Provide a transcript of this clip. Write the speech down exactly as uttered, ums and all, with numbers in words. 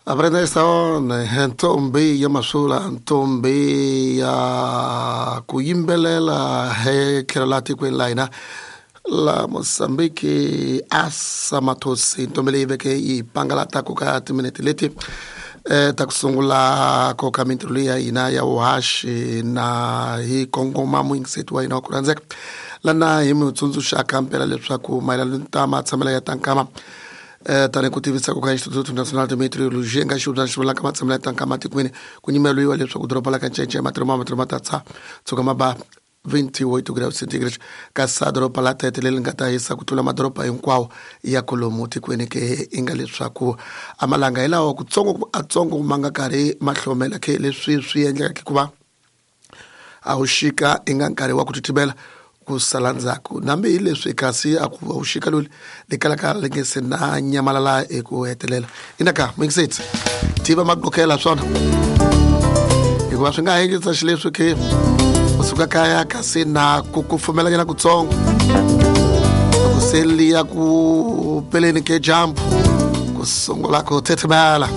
Aprenda esta one ntombi ya masula ntombi ya ku yimbelela he tlhelo la tikweni la hina la Mozambique Asa Mathosi ntombi leyi veke yi pangalata ku ka timinete leti eh ta ku sungula ko ka mintirho leyi ya hina ya vuhaxi na hi kongoma muyingiseti wa hina wa ku rhandzeka lana hi mi tsundzuxaka mpela leswaku mayelana ta matshamelo ya ta nkama eh tani ku tivisa ku ka Instituto Nacional de Meteorologia nga xivundza xi vulaka matshamelo ya ta nkama tikweni ku nyimeliwa leswaku doroba la ka Ncece matirho ma matirho ma ta tsha tshuka ma ba vinte e oito graus centígrados kasi doroba la Tete leri nga ta hisa ku tlula madoroba hinkwawo ya kolomu tikweni ke i nga leswaku amalanga hi lawa kutsongo atsongo ma nga karhi ma hlomela ke leswi swi endlekaka hikuva a wu xika i nga nkarhi wa ku titimela ku sala ndzhaku nambi hi leswi kasi a ku wu xika loli li kalaka li nge se na nyamalala eku hetelela inaka muyingiseti tiva maqokela swona hikuva swi nga ha endlisa xileswi ke u suka kaya kasi na ku kufumelanyana kutsongo loko se liya ku peleni ke dyambu ku sungula ku titimela.